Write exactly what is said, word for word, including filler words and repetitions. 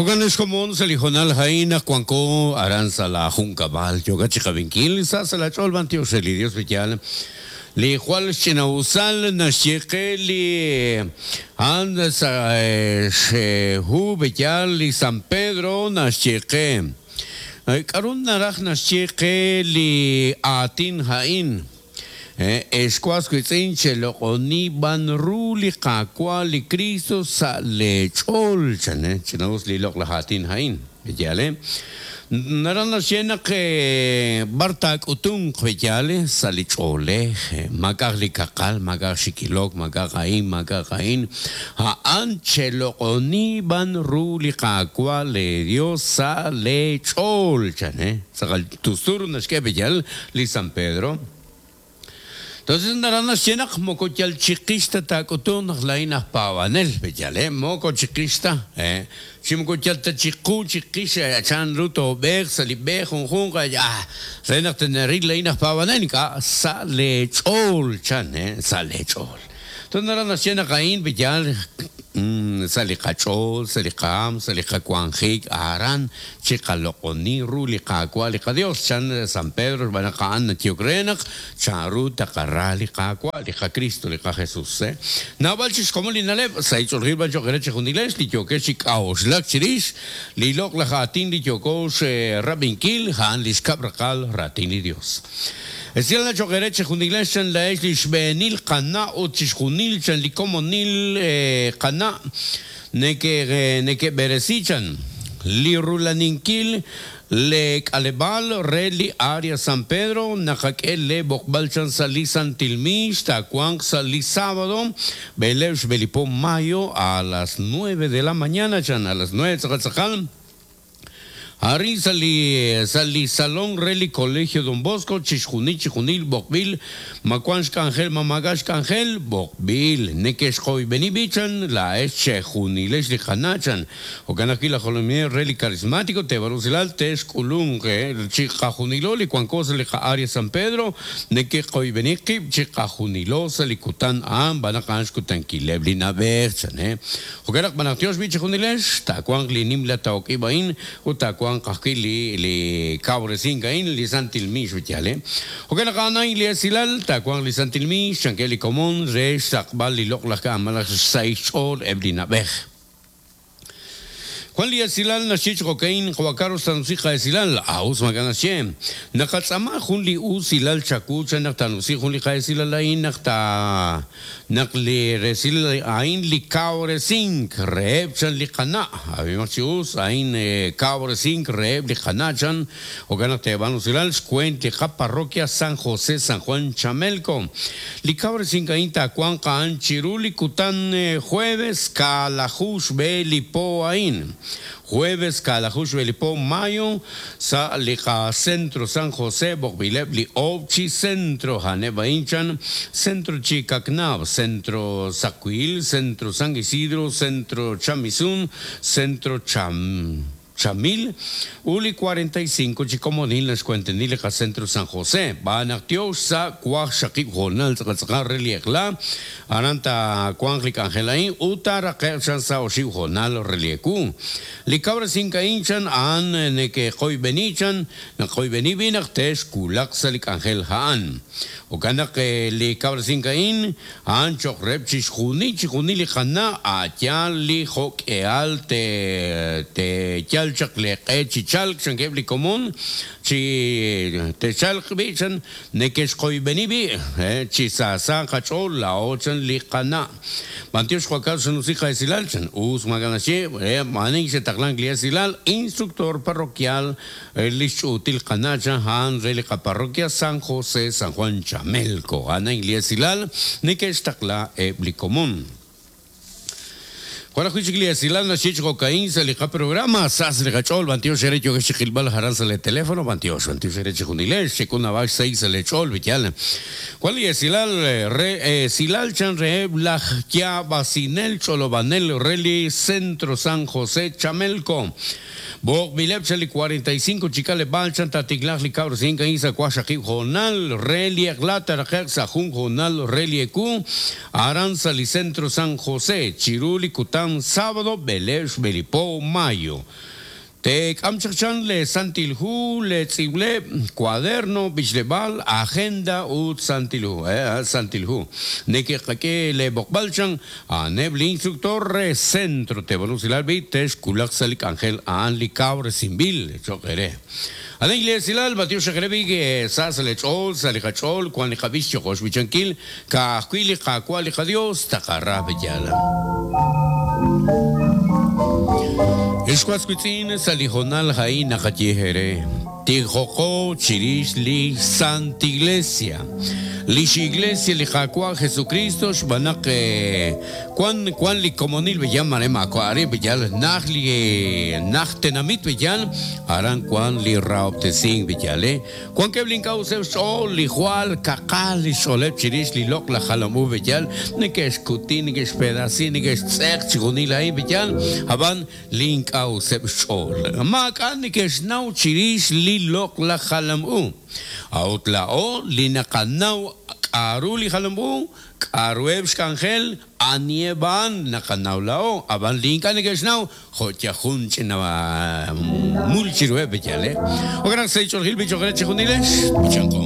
Jo'kan ex komon sa' li hoonal a'in naq wanko aran sa' la junkab'al yookat chi qab'inkil sa' sa' la ch'ool b'antiox re li Dios b'iyal li jwal xch'ina'usal naxye qe li a'an sa' xhu b'iyal li San Pedro naxye qe k'aru naraj naxye qe li aatin a'in Excuas witz'in cheloq'oni b'an ru li Qaawa' li Cristo sa' lech'ool chan ch'ina'us li loq' laj aatin a'in b'iyal naraj naxye naq b'ar taak'utunq b'iyal sa' li ch'oolej maak'aj li kaqal maak'aj xikilok maak'aj a'in maak'aj a'in a'an cheloq'oni b'an ru li Qaawa' le Dios sa' lech'ool chan tz'aqal tustur naxk'e b'iyal li San Pedro. Entonces naraj naxye naq moko yal chiqixta taak'utun naq la'in aj paab'anel b'iyal moko chiqixta chi moko yal ta chiqu chiqix chan ru toob'eeq sa' li b'e junjunq ah re naq teneril la'in aj paab'anel ink'a' sa' lech'ool chan sa' lech'ool. Entonces naraj naxye naq a'in b'iyal sa' li qach'ool sa' li qaam sa' li qawanjik aran chiqaloq'oni ru li Qaawa' li qaDios chan San Pedro xb'aan naq a'an natiyok re naq chan ru taqara li Qaawa' li qaCristo li qaJesus naab'al chi xkomon li na'leb' sa' ich'oolil b'an cho'q re chijunilex li yookex chi k'a'uxlak chirix li loq' laj aatin li yooko xrab'inkil a'an li xkab' raqal raatin li Dios. Esilal cho'q re chijunilex chan la'ex li xb'eenil qana' ut chixjunil chan li komonil qana' neke neke'b'eresi chan li rulaninkil le k'aleb'al re li área San Pedro naqak'e le b'oqb'al chan sa' li Santilmix taawanq sa' li sábado b'eleeb' xb'elipo mayo a las nueve de la mañana chan a las nueve tz'aqal Ari sa' li sa' li salón re li Colegio Don Bosco chixjunil chixjunil b'oqb'il makuan xk'anjel mamaga xk'anjel b'oqb'il neke'xqoyb'eni b'ichan la'ex chejunilex li qana' chan jo'kan ajwi' laj jolominel re li carismático tebarusilal te'xk'ulunq chiqajunilo li wanko sa' li qa'área San Pedro neke'qoyb'eni qib' chiqajunilo sa' li kutan a'an b'an naq a'an xkutankileb' li na'b'ej chan jo'kan naq b'an naq tiox b'i chijunilex taawanq li nimla taok'ib' a'in ut taawanq ajwi' li li kawresink a'in li Santilmix b'iyal jo'kan naq a'an a'in li esilal taawanq li Santilmix chanke li komon re xsaqb'al li loq' laj k'amalaj xsahil xch'ool eb' li na'b'ej. Juan li esilal naxye chokain Juan Carlos tanusi esilal aus maganaxye naqatz'ama jun li usilal chaku chan naq tanusi jun li qaesilal a'in naq ta naq li resil a'in li kawresink reheb' chan li qana' abimaq chi us a'in kawresink reheb' li qana' chan jo'kan naq teeb'an usilal xkuent li qaparroquia San José San Juan Chamelco li kawresink a'in taawanq a'an chiru li kutan jueves kalaju xb'e li po a'in jueves kalajush belipo mayo sa liqa centro San José b'oqb'ileb' li obchi centro haneb' inchan centro Chicacnab centro Sacuil centro San Isidro centro Chamizun centro Cham Chamil uli cuarenta y cinco chicomonil naxkuentenil liqa centro San José b'anaq tiox sa kuaj xaqib' jonal tz'aqatz'aqal re li eqla aranta kuanj li k'anjel a'in uta raqe' chan sa oxib' jonal re li eku li kawresink a'in chan a'an neke'qoyb'eni chan naqoyb'eni b'i naq te'xkulaq sa' li k'anjel a'an jo'kan naq li kawresink a'in a'an cho'q reheb' chixjunil chixjunil li qana' a'yal li jo'k'eal te te yal chaq leq'e chichalk chankeb' li komon chi techalq b'i chan neke'xqoyb'eni b'i chi saasa qach'ool la'o chan li qana' b'antiox Juan Carlos xanusi qaesilal chan us maganaxye ma'anin xetaqlank li esilal instructor parroquial li xch'uutil qana' chan a'an re li qaparroquia San José San Juan Chamelco a'an li esilal neke'xtaqla eb' li komon. Juan ajwi' li esilal naxye chokain sa' li qaprograma sas li qach'ool b'antiox ere yokex chiqilb'al jaran sa' le teléfono b'antiox b'antiox ere chijunilex xekunab'ax seis sa' le ch'ool b'iyal Juan li esilal re esilal chan reheb' laj yaab'asinel ch'olob'anel re li Centro San José Chamelco B'oqb'ileb' chan li cuarenta y cinco chikaleb'al chan tatiklaj li kawresink a'in sa' kuaj xaqib' jonal re li eqla taraqe'q sa' jun jonal re li eku aran sa' li Centro San José chiru li kutan kutan sábado b'eleeb' xb'e li po mayo. Teek'am chaq chan le Santil Hu, le tz'iib'leb', cuaderno, b'ichleb'aal, agenda ut Santil Hu, eh, Santil Hu. Neke'qak'e le b'oqb'al chan, a'aneb' li instructor re centro tevalusilal bi texkulaq sa' li k'anjel a'an li kawresinb'il cho'q eere. Ana iglesia batio xaqrebi sa sa le ch'ool sa li qach'ool kwan li qab'ix choqox b'ichankil ka'ajwi' li qaawa' li qadios taqara b'eyal. Ixwas witz'in sa li jonal ha'in naqaye ere. Tijoqo chirix li Santa Iglesia. Lix Iglesia li Qaawa' Jesucristo xb'anaq kwan kwan li komonil b'eyal mare ma'ari b'eyal naj li naj tenamit b'eyal aran kwan li raob'tesink b'eyal eh kwan keb' link'awseb' xch'ool li jwal kaqal li xch'ooleb' chirix li loq la jalam u b'eyal neke'xkuti neke'xpedasi neke'xtz'eq chijunil a'in b'eyal ab'an link'awseb' xch'ool maak'a' neke'xnaw chirix li loq la jalam u Aut la'o li naqanaw k'aru li jalam u k'arueb' xk'anjel anieb'an naqanaw la'o ab'an li ink'a' neke'xnaw jo' yajun ch'ina mul chiruheb' b'eyal eh Okanaq sa' ich'oljil bich'oqre chijunilex b'ichanqo.